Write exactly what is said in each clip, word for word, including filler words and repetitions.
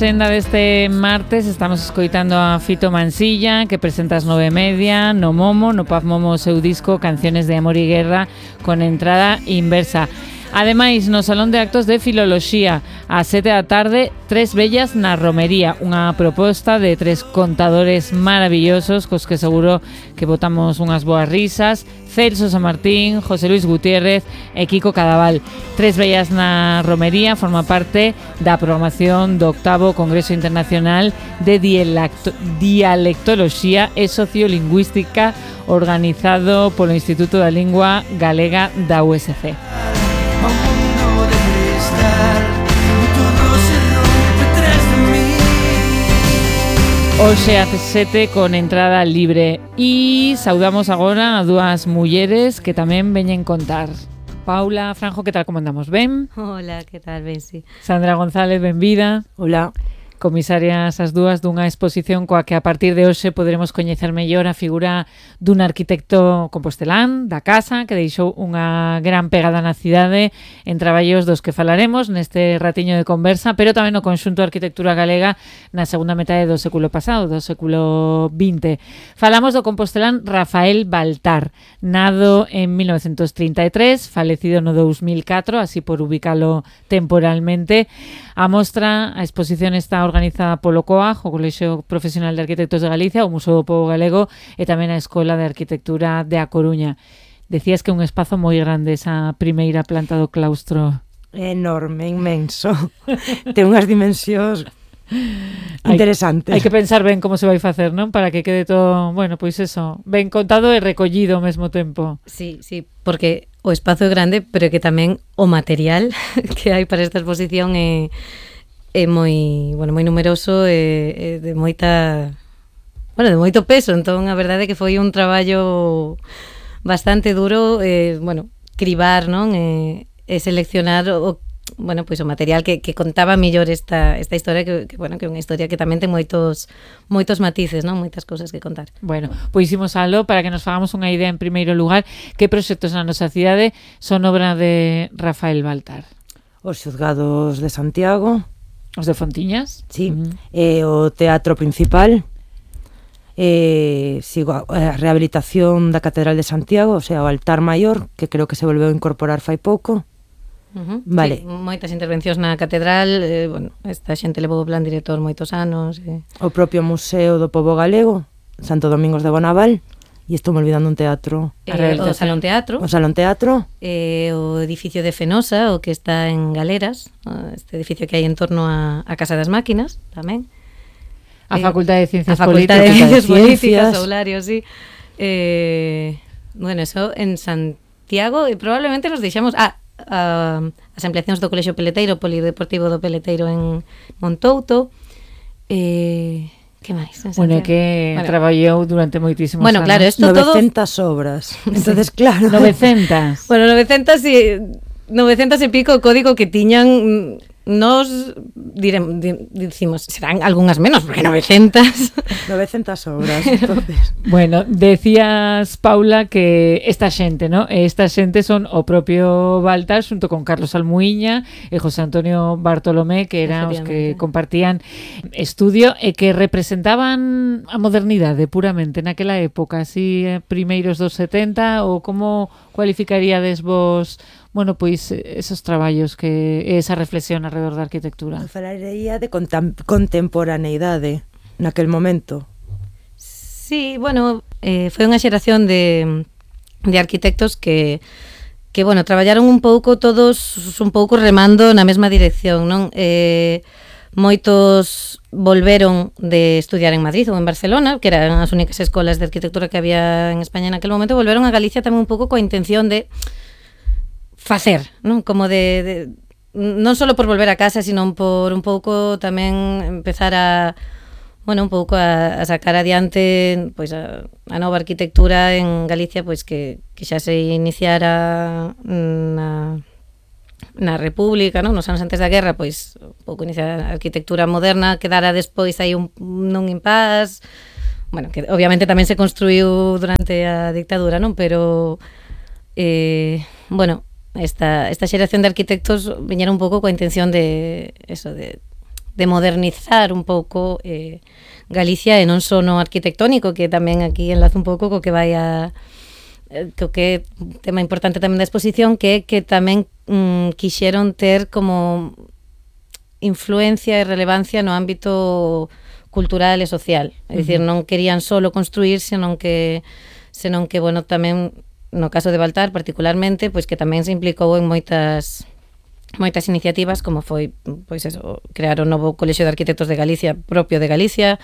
axenda deste martes estamos escoitando a Fito Mansilla, que presenta as nove e media no Momo, no Pub Momo, o seu disco Canciones de Amor y Guerra, con entrada inversa. Ademais, no Salón de Actos de Filoloxía, ás sete da tarde, Tres Bellas na Romería, unha proposta de tres contadores maravillosos cos que seguro que botamos unhas boas risas: Celso San Martín, José Luis Gutiérrez e Kiko Cadaval. Tres Bellas na Romería forma parte da programación do octavo Congreso Internacional de Dialecto- Dialectoloxía e Sociolingüística, organizado polo Instituto da Lingua Galega da U S C. Hoxe a sete con entrada libre. E saudamos agora a dúas mulleres que tamén veñen contar. Paula Franjo, que tal, como andamos? Ben? Hola, que tal, ben, si? Sandra González, benvida. Hola. Comisarias as dúas dunha exposición coa que a partir de hoxe poderemos coñecer mellor a figura dun arquitecto compostelán da casa que deixou unha gran pegada na cidade en traballos dos que falaremos neste ratiño de conversa, pero tamén no conxunto de arquitectura galega na segunda metade do século pasado, do século vinte. Falamos do compostelán Rafael Baltar, nado en mil novecentos trinta e tres, falecido no dous mil catro, así por ubicalo temporalmente. A mostra, a exposición está organizada polo C O A G, o Colexio Profesional de Arquitectos de Galicia, o Museo do Pobo Galego e tamén a Escola de Arquitectura de A Coruña. Decías que é un espazo moi grande esa primeira planta do claustro. Enorme, inmenso. Ten unhas dimensións interesantes. Hai que pensar ben como se vai facer, non? Para que quede todo, bueno, pois eso, ben contado e recollido ao mesmo tempo. Sí, sí, porque o espazo é grande, pero que tamén o material que hai para esta exposición é, é moi, bueno, moi numeroso e, e de moita, bueno, de moito peso. Entón, a verdade é que foi un traballo bastante duro, eh, bueno, cribar, non? E, e seleccionar o bueno, pois o material que, que contaba mellor esta, esta historia que, que, bueno, que é unha historia que tamén ten moitos moitos matices, non? Moitas cousas que contar. Bueno, pois imos alo para que nos fagamos unha idea en primeiro lugar que proxectos na nosa cidade son obra de Rafael Baltar. Os xuzgados de Santiago. Os de Fontiñas? Sí, uh-huh. E o Teatro Principal. E sigo a rehabilitación da Catedral de Santiago, o sea, o altar maior, que creo que se volveu a incorporar fai pouco. Uh-huh. Vale. Sí, moitas intervencións na catedral, eh, bueno, esta xente levou o plan director moitos anos. Eh. O propio Museo do Pobo Galego, Santo Domingos de Bonaval, e estou me olvidando un teatro. Eh, o Salón Teatro. O Salón Teatro. Eh, o edificio de Fenosa, o que está en Galeras, este edificio que hai en torno a, a Casa das Máquinas, tamén. A eh, Facultade de Ciencias a Facultade Políticas. de Políticas, Saulario, sí. Eh, bueno, eso en Santiago, e probablemente nos deixamos... Ah, Uh, as ampliacións do Colexio Peleteiro, Polideportivo do Peleteiro en Montouto. Eh, que máis? Bueno, que bueno, traballou durante moitísimos bueno, anos. Claro, esto novecentas todo... obras. Entonces, claro. novecentas. Bueno, novecentas e novecentas e pico o código que tiñan. Nos diremos, dicimos, serán algunhas menos, porque novecentas. novecentas obras, entonces. Bueno, decías, Paula, que esta xente, ¿no? Esta xente son o propio Baltar xunto con Carlos Almuíña e José Antonio Bartolomé, que eran os que compartían estudio e que representaban a modernidade puramente naquela época, así primeiros dos setenta, ou como cualificaríades vos, bueno, pois esos traballos que esa reflexión alrededor da arquitectura? Falaría de contem- contemporaneidade naquel momento. Sí, bueno, eh, foi unha xeración de, de arquitectos que que, bueno, traballaron un pouco todos un pouco remando na mesma dirección, non? Eh, moitos volveron de estudiar en Madrid ou en Barcelona, que eran as únicas escolas de arquitectura que había en España naquele momento, volveron a Galicia tamén un pouco coa intención de facer, non? Como de, de non só por volver a casa, sino por un pouco tamén empezar a, bueno, un pouco a, a sacar adiante pois a, a nova arquitectura en Galicia, pois que, que xa se iniciara na na República, non? Nos anos antes da guerra, pois un pouco iniciar a arquitectura moderna, quedara despois aí un, nun impás, bueno, que obviamente tamén se construiu durante a dictadura, non? Pero eh, bueno, esta, esta xeración de arquitectos viñera un pouco coa intención de eso, de de modernizar un pouco eh, Galicia e non só no arquitectónico, que tamén aquí enlazo un pouco co que vai a co que é un tema importante tamén da exposición, que que tamén mm, quixeron ter como influencia e relevancia no ámbito cultural e social. É dicir, non querían solo construir, senón que senón que, bueno, tamén no caso de Baltar particularmente, pois que tamén se implicou en moitas moitas iniciativas, como foi pois eso, crear o novo Colexio de Arquitectos de Galicia, propio de Galicia,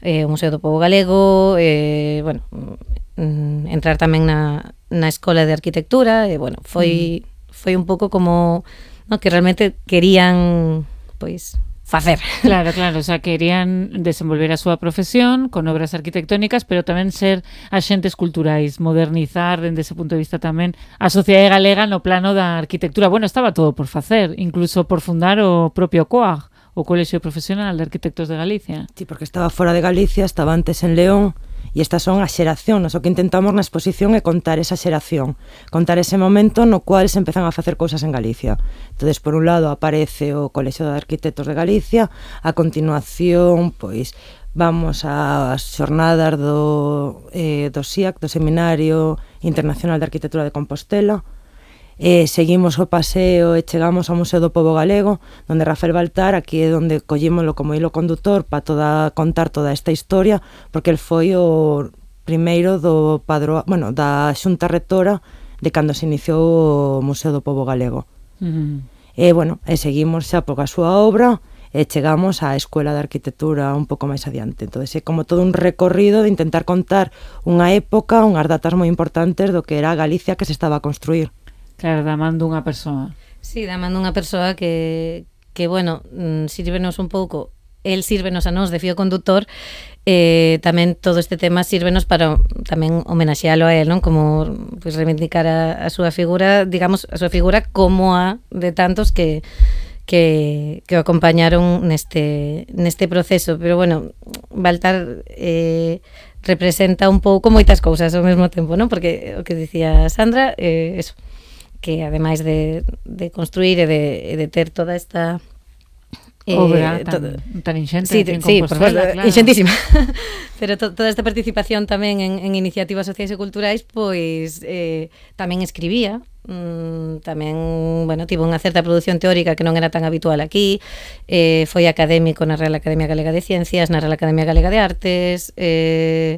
eh, o Museo do Pobo Galego, eh, bueno, mm, entrar tamén na, na Escola de Arquitectura, e, bueno, foi, mm. foi un pouco como, no, que realmente querían, pois, facer. Claro, claro, o sea, querían desenvolver a súa profesión con obras arquitectónicas, pero tamén ser axentes culturais, modernizar dende ese punto de vista tamén a sociedade galega no plano da arquitectura. Bueno, estaba todo por facer, incluso por fundar o propio C O A G, o Colexio Profesional de Arquitectos de Galicia. Sí, porque estaba fora de Galicia, estaba antes en León, e estas son as xeracións. O que intentamos na exposición é contar esa xeración, contar ese momento no cual se empezan a facer cousas en Galicia. Entonces, por un lado, aparece o Colexio de Arquitectos de Galicia, a continuación, pois, vamos ás xornadas do, eh, do S I A C, do Seminario Internacional de Arquitectura de Compostela, Eh, seguimos o paseo e chegamos ao Museo do Pobo Galego, onde Rafael Baltar, aquí é onde collímolo como hilo condutor para toda, contar toda esta historia, porque el foi o primeiro do padro, bueno, da xunta rectora de cando se iniciou o Museo do Pobo Galego. Uh-huh. E, bueno, e seguimos xa por a súa obra e chegamos á Escuela de Arquitectura un pouco máis adiante. Entón, é como todo un recorrido de intentar contar unha época, unhas datas moi importantes do que era a Galicia que se estaba a construir. Claro, da man dunha persoa. Sí, da man dunha persoa que, que bueno, sírvenos un pouco, el sírvenos a nós de fío conductor, eh, tamén todo este tema sírvenos para tamén homenaxealo a él, non? Como pues, reivindicar a, a súa figura, digamos, a súa figura como a de tantos que que, que o acompañaron neste, neste proceso. Pero bueno, Baltar eh, representa un pouco moitas cousas ao mesmo tempo, non? Porque o que dicía Sandra, eh, eso, que ademais de, de construir e de, de ter toda esta eh, obra tan, todo, tan inxente, sí, sí, claro. Inxentísima. Pero to, toda esta participación tamén en, en iniciativas sociais e culturais, pois eh, tamén escribía, mm, tamén, bueno, tivo unha certa produción teórica que non era tan habitual aquí, eh, foi académico na Real Academia Galega de Ciencias, na Real Academia Galega de Artes, eh,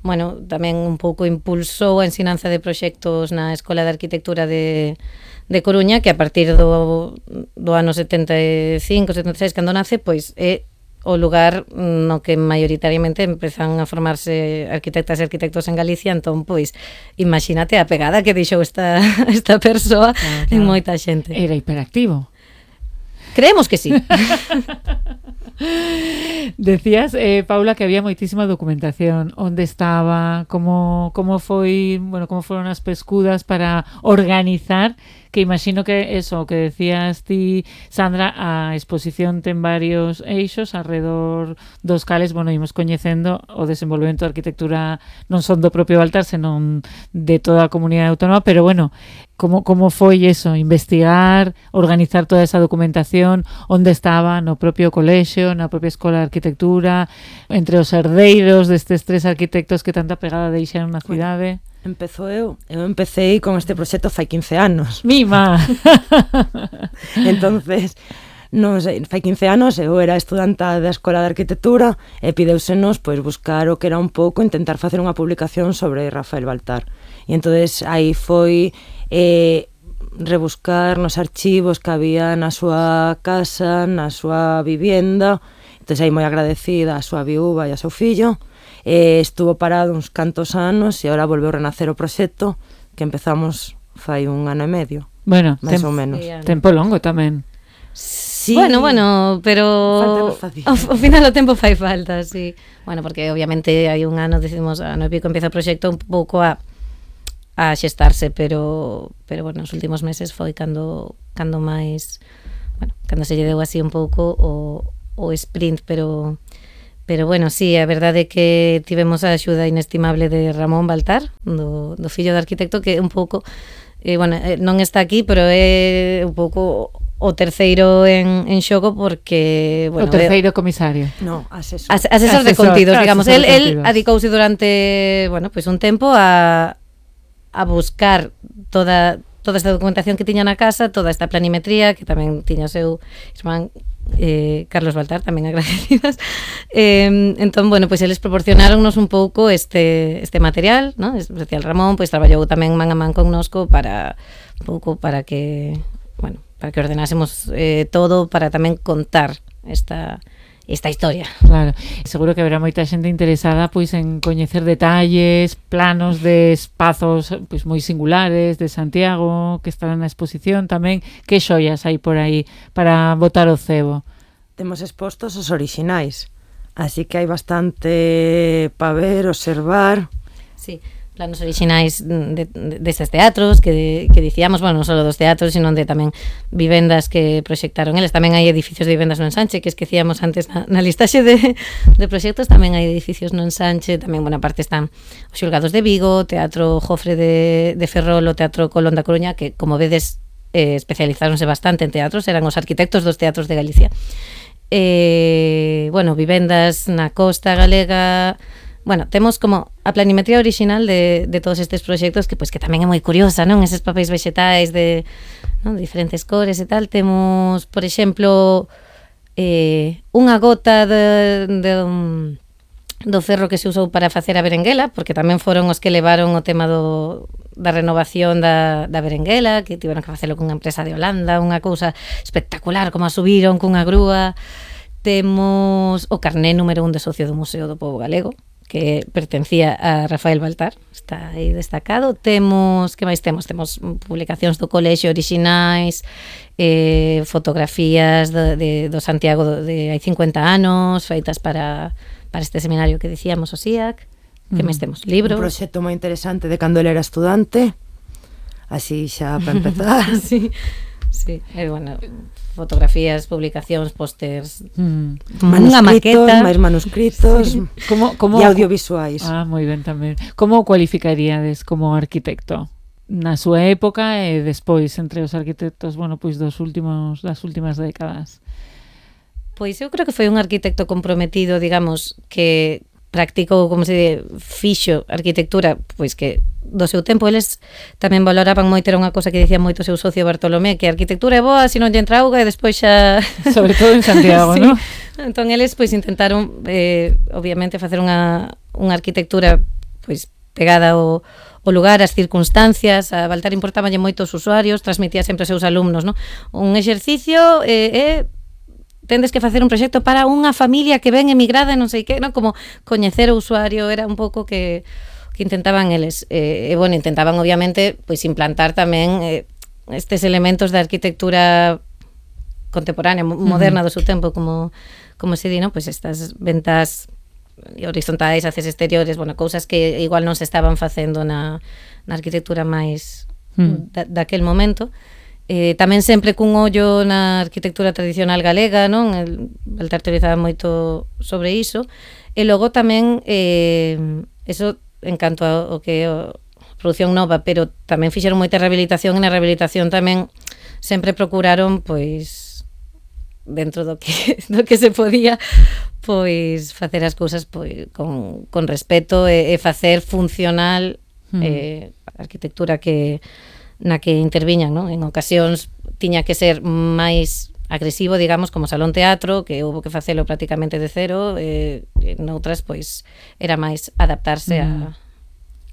bueno, tamén un pouco impulsou a ensinanza de proxectos na Escola de Arquitectura de, de Coruña, que a partir do, do ano setenta e cinco, setenta e seis, cando nace, pois é o lugar no que maioritariamente empezan a formarse arquitectas e arquitectos en Galicia. Entón, pois, imagínate a pegada que deixou esta, esta persoa claro, claro. en moita xente. Era hiperactivo. Creemos que sí. Decías, eh, Paula, que había moitísima documentación. Onde estaba? Como, como foi, bueno, como foron as pescudas para organizar, que imagino que eso, que decías ti, Sandra, a exposición ten varios eixos alrededor dos cales, bueno, imos coñecendo o desenvolvemento da arquitectura non son do propio Baltar, senón de toda a comunidade autónoma, pero bueno, como, como foi eso, investigar, organizar toda esa documentación, onde estaba, no propio colexio, na propia Escola de Arquitectura, entre os herdeiros destes tres arquitectos que tanta pegada deixaron na cidade. Bueno. Empezo eu, eu empecé con este proxecto fai quince anos. Mima! Entonces, non sei, fai quince anos eu era estudanta da Escola de Arquitectura e pideusenos pois buscar o que era un pouco, intentar facer unha publicación sobre Rafael Baltar. E entonces aí foi eh, rebuscar nos archivos que había na súa casa, na súa vivienda. Entonces aí moi agradecida a súa viúva e a seu fillo. Eh, estuvo parado uns cantos anos e agora volveu a renacer o proxecto que empezamos fai un ano e medio. Bueno, máis tem, ou menos. Tempo longo tamén. Sí. Bueno, bueno, pero o, o final o tempo fai falta, sí. Bueno, porque obviamente hai un ano, decimos, ano e pico empieza o proxecto un pouco a a xestarse, pero pero bueno, nos últimos meses foi cando cando máis, bueno, cando se lle deu así un pouco o o sprint, pero Pero bueno, sí, a verdade é que tivemos a axuda inestimable de Ramón Baltar, do, do fillo do arquitecto, que un pouco, eh, bueno, eh, non está aquí, pero é un pouco o o terceiro en, en xogo porque, bueno, o terceiro comisario. No, asesor. As, asesor, asesor de contidos, digamos. Él, él adicouse durante, bueno, pues un tempo a a buscar toda toda esta documentación que tiña na casa, toda esta planimetría que tamén tiña o seu irmán eh, Carlos Baltar, tamén agradecidas. Eh, entón, bueno, pois pues eles proporcionáronnos un pouco este este material, ¿no? Especial Ramón, pois pues, traballou tamén man a man connosco para un pouco para que, bueno, para que ordenásemos eh, todo para tamén contar esta esta historia. Claro, seguro que haberá moita xente interesada pois en coñecer detalles, planos de espazos pois moi singulares de Santiago que estarán na exposición tamén. Que xoias hai por aí para botar o cebo? Temos expostos os orixinais, así que hai bastante para ver, observar. Sí, planos orixinais de, de, destes teatros que, que dicíamos, bueno, non só dos teatros, sino de tamén vivendas que proxectaron eles. Tamén hai edificios de vivendas no Ensanche, que esquecíamos antes na, na listaxe de, de proxectos, tamén hai edificios no Ensanche, tamén, bona parte están os xulgados de Vigo, Teatro Jofre de, de Ferrol, o Teatro Colón da Coruña, que, como vedes, eh, especializáronse bastante en teatros, eran os arquitectos dos teatros de Galicia. Eh, bueno, vivendas na costa galega. Bueno, temos como a planimetría original de, de todos estes proxectos que pois que tamén é moi curiosa, non? Eses papéis vexetais de, non? De diferentes cores e tal. Temos, por exemplo, eh, unha gota de, de um, do ferro que se usou para facer a berenguela, porque tamén foron os que levaron o tema do, da renovación da, da berenguela, que tiveron que facelo cunha empresa de Holanda, unha cousa espectacular, como a subiron cunha grúa. Temos o carné número un de socio do Museo do Pobo Galego, que pertencía a Rafael Baltar, está aí destacado. Temos, que máis temos? Temos publicacións do colexio orixinais, eh, fotografías de, de, do Santiago de hai cincuenta anos, feitas para, para este seminario que dicíamos, o S I A C. Que máis temos? Libros. Un proxecto moi interesante de cando ele era estudante, así xa para empezar. Sí, sí, e, bueno, fotografías, publicacións, pósters, mm. unha maqueta, máis manuscritos, sí. como, como, e audiovisuais. Ah, moi ben tamén. Como o cualificaríades como arquitecto? Na súa época e despois entre os arquitectos, bueno, pois dos últimos das últimas décadas. Pois eu creo que foi un arquitecto comprometido, digamos, que practicou, como se di, fixo arquitectura, pois que do seu tempo eles tamén valoraban moito, era unha cosa que dicía moito o seu socio Bartolomé, que a arquitectura é boa se non lle entra auga e despois xa... Sobre todo en Santiago, sí. ¿No? Entón eles pois intentaron eh, obviamente facer unha, unha arquitectura pois pegada ao, ao lugar, as circunstancias. A Baltar importábanlle moito os usuarios, transmitía sempre aos seus alumnos, ¿no? Un exercicio é... Eh, eh, tendes que facer un proxecto para unha familia que ven emigrada e non sei que, non? Como coñecer o usuario era un pouco que, que intentaban eles. E, eh, bueno, intentaban obviamente pois implantar tamén eh, estes elementos da arquitectura contemporánea, moderna do seu tempo, como, como se di, non? Pois estas ventas horizontais, haces exteriores, bueno, cousas que igual non se estaban facendo na, na arquitectura máis mm. da, daquel momento. Eh, tamén sempre cun ollo na arquitectura tradicional galega, non? El Baltar teorizaba moito sobre iso. E logo tamén eh, eso en canto ao que é a produción nova, pero tamén fixeron moita rehabilitación, e na rehabilitación tamén sempre procuraron, pois, dentro do que, do que se podía, pois facer as cousas pois, con, con respeto e, e facer funcional mm. eh, a arquitectura que na que interviñan, non? En ocasións tiña que ser máis agresivo, digamos, como Salón Teatro, que houve que facelo prácticamente de cero, e noutras, pois, era máis adaptarse a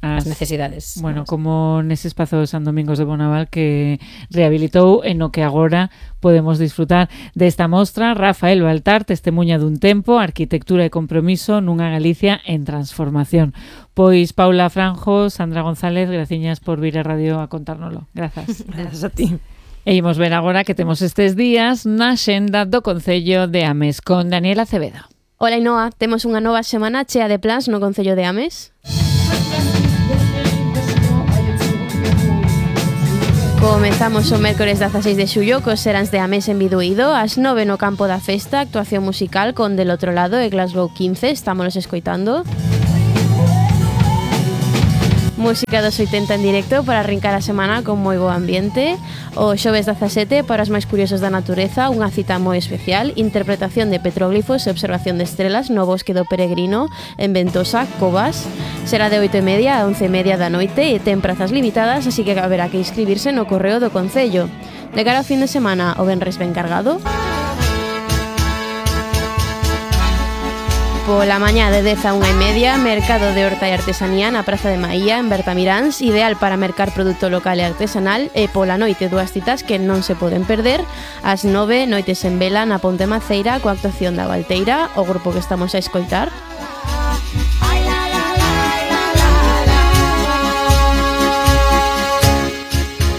as necesidades. Bueno, como nese espazo de San Domingos de Bonaval que rehabilitou e no que agora podemos disfrutar desta mostra. Rafael Baltar, testemunha dun tempo, arquitectura e compromiso nunha Galicia en transformación. Pois Paula Franjo, Sandra González, graciñas por vir a radio a contárnoslo. Grazas. Grazas a ti. E imos ver agora que temos estes días na xenda do Concello de Ames con Daniela Acevedo. Ola Inoa, temos unha nova semana chea de plans no Concello de Ames. Comezamos o mércores dezaseis de xullo cos Seráns de Ames en Biduído, ás nove no campo da festa, actuación musical con Del Outro Lado e Glasgow quince, estámonos escoitando. Música dos oitenta en directo para arrincar a semana con moi bo ambiente. O xoves dezasete, para os máis curiosos da natureza, unha cita moi especial, interpretación de petróglifos e observación de estrelas no bosque do Peregrino en Ventosa, Covas. Será de oito e media a once e media da noite e ten prazas limitadas, así que haberá que inscribirse no correo do Concello. De cara ao fin de semana, o venres ben cargado. Pola mañá de dez a unha e media, mercado de horta e artesanía na Praza de Maía, en Bertamiráns, ideal para mercar produto local e artesanal, e pola noite dúas citas que non se poden perder. Ás nove, noites en vela na Ponte Maceira, coa actuación da Valteira, o grupo que estamos a escoitar.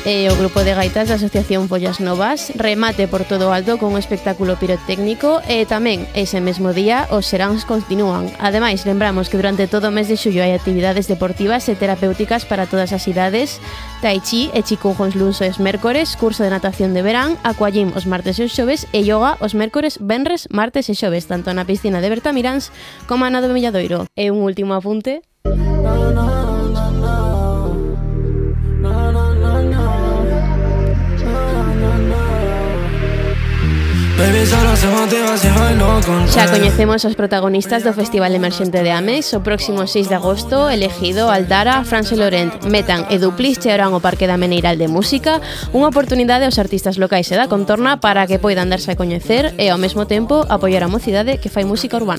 E o grupo de gaitas da Asociación Follas Novas, remate por todo o alto con un espectáculo pirotécnico, e tamén ese mesmo día os seráns continúan. Ademais, lembramos que durante todo o mes de xullo hai actividades deportivas e terapéuticas para todas as idades: tai chi e chikung luns os mércores, curso de natación de verán, aquagym os martes e os xoves e yoga os mércores, venres, martes e xoves, tanto na piscina de Bertamiráns como na do Milladoiro. E un último apunte. Xa coñecemos os protagonistas do Festival Emerxente de Ames. O próximo seis de agosto, Elegido, Aldara, France Laurent, Metan e Duplis chegarán ao Parque da Meneiral de Música, unha oportunidade aos artistas locais e da contorna para que poidan darse a coñecer e ao mesmo tempo apoiar a mocidade que fai música urbana.